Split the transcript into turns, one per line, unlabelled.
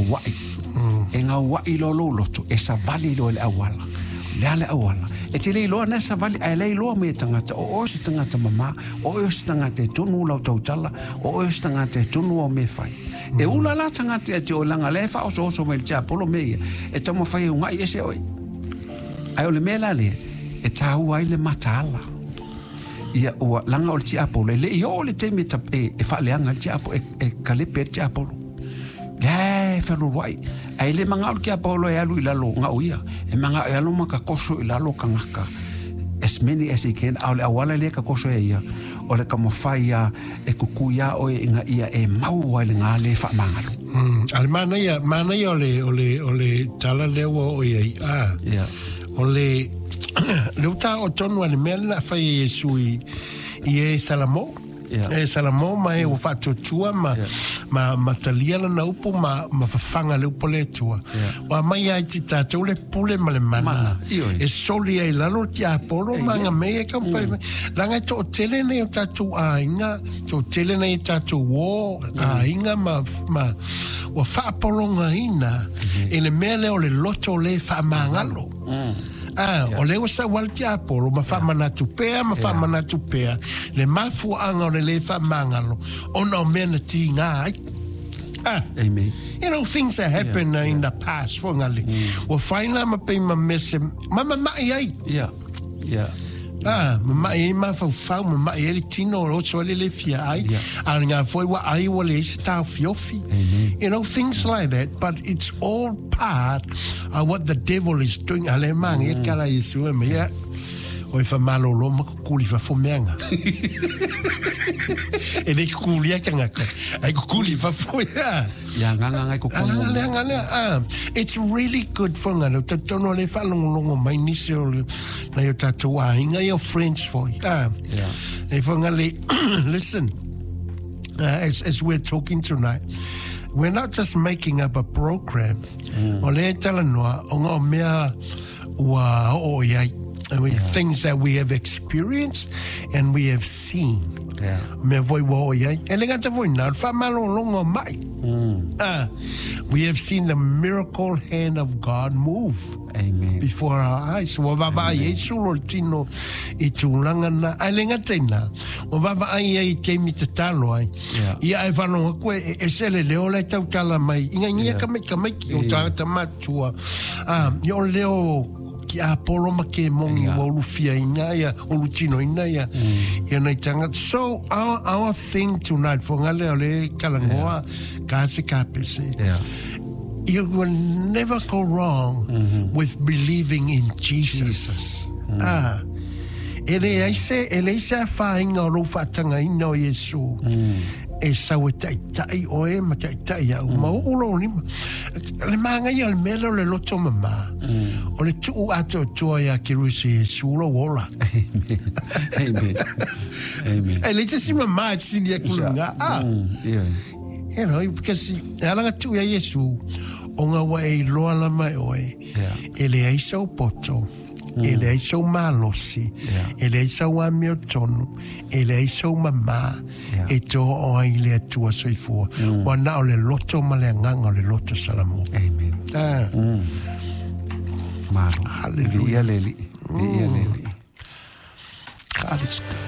gaua'i. E gaua'i loa lou loto, e savali loa i le auala. O le a le auala? E te le iloa na e savali, ae la e iloa mai e tagata, o oe o se tagata mamā, o oe o se tagata e tonu lau tautala, o oe o se tagata e tonu au mea e fai. E ula la tagata ia te oe leaga o lea e faaosooso mai e le tiapolo mea ia, e taumafai e uga'i ese oe. Ae o le mea la lea, e taua ai le mataala. Ia, ua, leaga o le tiapolo, e le i oo le taimi e, e, e faaleaga ai le tiapolo, e, e kalepe ai le tiapolo. Lea e fealualuai. Ae le manao le tiapolo e alu i lalo gao ia. E manao e alu ma tatoso i lalo tagata. As many as he can. A o le auala lea e tatoso e ia, o le taumafai ia e kukui iā oe ina ia e mau ai le gā le faamagalo.
A le manaia, manaia o le, o le, o le tala lea ua oo i ai, a,
Yeah.
o le, le uta o tonu a le mea lena fai e Iesu i, i e Salamo.
Yeah.
E Salamo ma e ua faatuatua ma,
Yeah.
ma, ma talia lana upu ma, ma fafaga le upu a le Atua.
Yeah.
Ua aumai ai ti tatou le pule ma le mana.
Mana, ioe.
E soli ai lalo le tiapolo ma
Amen.
aga mea e taumafai mai. Leaga e toatele nei o tatou aiga, toatele nei o tatou uo, aiga ma, ma ua faapologaina i le mea lea o le loto le faamagalo. Ah, o lea ua sau lava le tiapolo ma faamanatu pea ma faamanatu pea le mafuaaga o le le faamagalo ona o mea na tiga ai. Ah.
Amen.
You know, things that happen yeah, in the past, fo ngale. Ua fai la ma pei ma mese, ma mama'i ai.
Yeah. Yeah.
Ah, mama'i ai mafaufau, mama'i ai le tino, o oso ai le le fia ai.
Yeah.
A ngā foi ua ai ua leai se taofiofi.
Amen.
You know, things like that, but it's all part of what the devil is doing. A le maga e tala Iesu e mea, o e whamalolo ma kukuli fafo meanga. E le kukuli a tangata, ai kukuli fafo ia.
Ia nganga ngai ko kongo.
Nganga lea, nganga lea. Ah, it's really good for ngā tatono le whaalongolongo mai nisi o le, nai o tātou āinga i o friends foi. Ah,
Yeah.
E whanga le, listen, as we're talking tonight, we're not just making up a program. O le talanoa, o ngā mea ua oo i ai. I mean, things that we have experienced and we have seen.
Yeah.
Mea foi ua oo i ai. E le gata foi nā, o le whaamalologa o mai. Ah, we have seen the miracle hand of God move.
Amen.
Before our eyes. Ua vaavaai ai sulu o le tino i tulaga na. Ae le gata i nā, ua vaavaai ai i taimi tatalo ai.
Yeah.
Ia ae faalogo atu e, e ese le leo la e tautala mai. Ingaingia
Yeah.
ka maiki maiki o
Yeah.
tagata matua. Ah, ia o leo ki Apollo ma ke mongi
Yeah.
ua ulufiaina ia, ulutinoina ia, ia nai tagata. So our thing tonight, foga lea o le kalagoa, ka se ka pese.
Yeah.
You will never go wrong with believing in Jesus.
Jesus.
Ah. E le ai se, e leai se afaina o lou faatagaina o Iesu. E sau e taitai oe ma taitai au. Ma uu lou lima. Le magaia o le mea lea o le loto mamā. O le tuu atoatoa ia Kerusi Iesu lou ola.
Amen. Amen. Amen.
E leai se isi mamā e sili atu lena. Ah.
Yeah.
You know, because e ala atu ia Iesu, o ngā ua e iloa lama e oe.
Yeah.
E leai sau poto, e leai sau malosi,
Yeah.
e leai sau amiotonu, e leai sau mamā,
Yeah.
e toa o ai le Atua soifua. Ua na o le loto ma le agaga o le loto Salamo.
Amen.
Ah.
Malo.
Hallelujah.
Viia le Alii. Viia le Alii.
God is good.